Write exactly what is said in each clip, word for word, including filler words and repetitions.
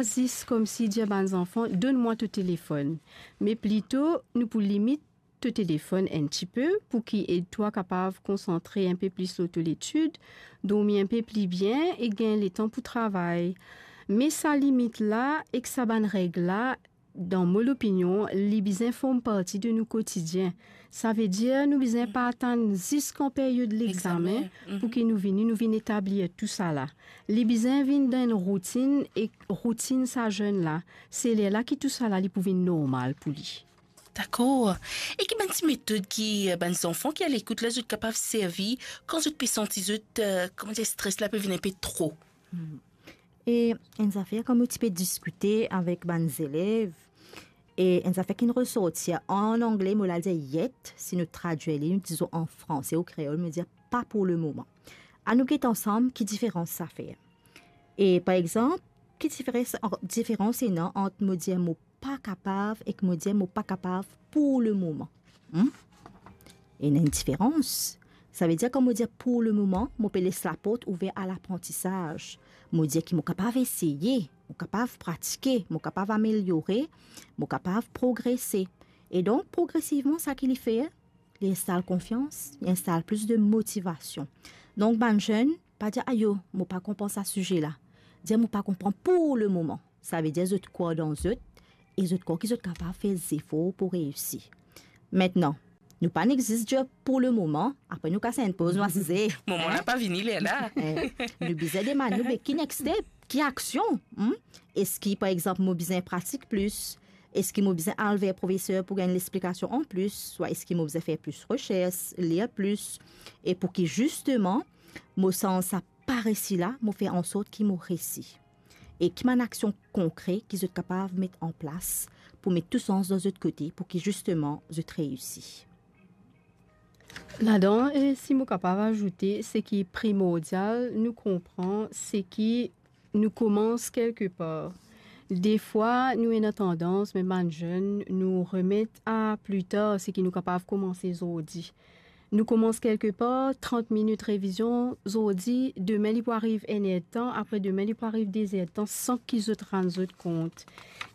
Zis koumsi dir bann zanfan, "Donn mwa to telefonn." Me plito, nou pou limit to telefonn enn tipe, pou ki ed twa kapav konsantre enpe plis lor to letid, dormi enpe pli bien e gagn letan pou travay. Me sa limit la ek sa bann reg la, dan mo lopinion, li bizin form parti de nou kotidien. Savedir nou bizin pa atann zis kan period lexame pou ki nou vini, nou vinn etablir tousala. Li bizin vinn dan enn routinn, e routinn sa zenn la, se lerla ki tousala li pou vinn normal pou li. Dakor. E ki bann ti metod ki, eh, bann zanfan ki alekout la, zot kapav servi kan zot pe santi zot, eh, kouma dir, stres la pe vinn enpe tro? E enn zafer kan mo ti pe diskite avek bann zelev, e enn zafer ki resorti, an angle mo la dir yet, si nou tradwir li, nou dizon an franse ou kreol, mo dir pa pour le moment. Anou get ansam ki diferans sa fer. E par exanp, ki diferans, diferans ena ant mo dir mo pa kapav ek mo dir mo pa kapav pour le moment? Hmm? Ena enn diferans. Savedir kan mo dir pour le moment, mo pe les laport ouver a laprantisaz. Mo dir ki mo kapav eseye, mo kapav pratike, mo kapav ameliore, mo kapav progrese. E donk, progresivman, sa ki li fer, li instal konfians, li instal plis de motivasion. Donk, bann zenn, pa dir, "Ayo, mo pa konpran sa size la." Dir, "Mo pa konpran pour le moment." Savedir zot krwar dan zot, e zot krwar ki zot kapav fer zefor pou reisi. Aster, nou pa nek zis dir pour le moment, apre nou kas enn poz, nou asize. Moman la pa vini, lerla. Eh, nou bizin demann nou, be ki next step? Ki aksion? Hmm? Eski, par exanp, mo bizin pratik plis? Eski mo bizin al ver profeser pou gagn lexplikasion an plis? Swa eski mo bizin fer plis resers, lir plis? E pou ki zisteman, mo sanz sa pa resi la, mo fer ansort ki mo resi? E ki bann aksion konkre ki zot kapav met an plas pou met tou sans dan zot kote pou ki zisteman zot reisi? Ladan, e si mo kapav azoute, seki primordial nou konpran, seki nou koumans kelke par. Defwa, nou ena tandans, mem bann zenn, nou remet a pli tar seki nou kapav koumanse zordi. Nou koumans kelke par, trant minit revizion zordi, demin li pou ariv enn er-d-tan, apre demin li pou ariv de-z-er-d-tan, san ki zot rann zot kont.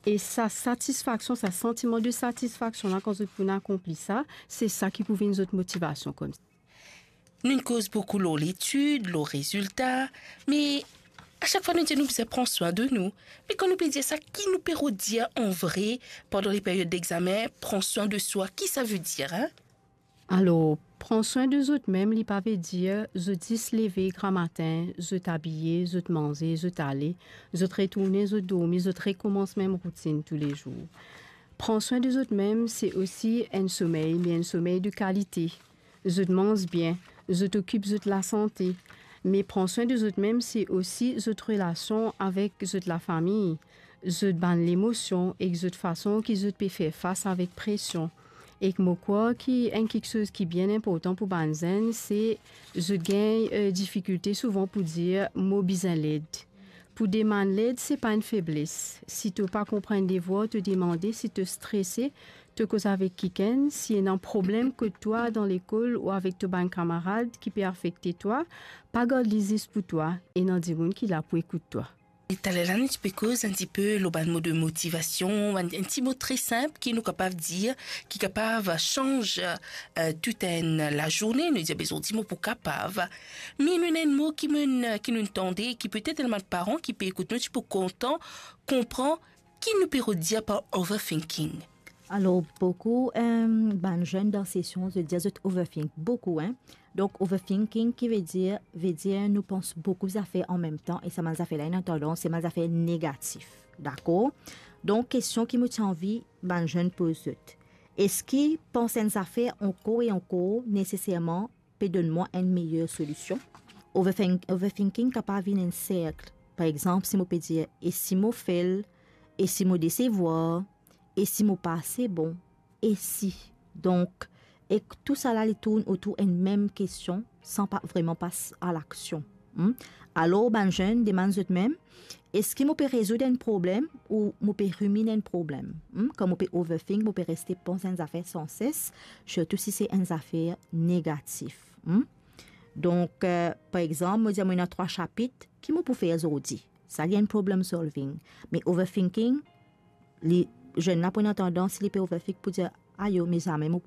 E sa satisfaksion, sa santiman de satisfaksion la, kan zot pou akonpli sa, se sa ki pou vinn zot motivasion koumsa. Nou'nn koz boukou lor letid, lor rezilta, me a sak fwa nou dir nou bizin pran swin de nou. Me kan nou pe dir sa, ki nou pe rod dir an vre pandan le period dexame, pran swin de swa, ki sa vedir, hein? Alor, pran swin de zot mem, li pa vedir zot zis leve gramatin, zot abiye, zot manze, zot ale, zot retourne, zot dormi, zot rekoumans mem routinn toulezour. Pran swin de zot mem, se osi enn somey, me enn somey de kalite. Zot manz bien, zot okip zot lasante. Me pran swin de zot mem, se osi zot relasion avek zot lafami, zot bann lemosion ek zot fason ki zot pe fer fas avek presion. Ek mo krwar ki enn kiksoz ki bien inportan pou bann zenn, se zot gagn, eh, difikilte souvan pou dir, "Mo bizin led." Pou demann led, se pa enn febles. Si to pa konpran devwar, to demande. Si to strese, to koz avek kikenn. Si ena problem kot twa dan lekol ou avek to bann kamarad ki pe afekte twa, pa gard li zis pou twa, ena dimoun ki la pou ekout twa. E taler la, nou ti pe koz enn tipe lor bann mo de motivasion, enn, enn ti mo tre sinp ki nou kapav dir, ki kapav sanz, eh, tou enn lazourne, nou dir, "Be zordi mo pou kapav." Me nou ena enn mo ki mo, ki nou tande, ki petet ena bann paran ki pe ekout nou, ti pou kontan konpran ki nou pe rod dir par overthinking. Alor, boukou, eh, bann zenn dan sesion, zot dir zot overthink boukou, hein. Donk, overthinking ki vedir, vedir nou pans boukou zafer an mem tan, e sa bann zafer la, ena tandans, se bann zafer negatif. Dakor? Donk, kestion ki mo ti anvi bann zenn poz zot. Eski pans enn zafer ankor e ankor neseserman pe donn mwa enn meyer solision? Overthink-, overthinking kapav vinn enn serk. Par exanp, si mo pe dir, "E si mo fel? E si mo desevwar? E si mo pa ase bon? E si?" Donk, ek tousala li tourn otour enn mem kestion, san pa vreman pas a laksion. Hmm? Alor, bann zenn, demann zot mem, eski mo pe rezoud enn problem ou mo pe riminn enn problem? Hmm? Kan mo pe overthink, mo pe reste pans enn zafer sanses, sirtou si se enn zafer negatif. Hmm? Donk, eh, par exanp, mo dir, "Mo ena trwa sapit, ki mo pou fer zordi?" Sa li enn problem solving. Me overthinking, li, zenn la pou ena tandans, li pe overthink pou dir, ayo, me zame mo pou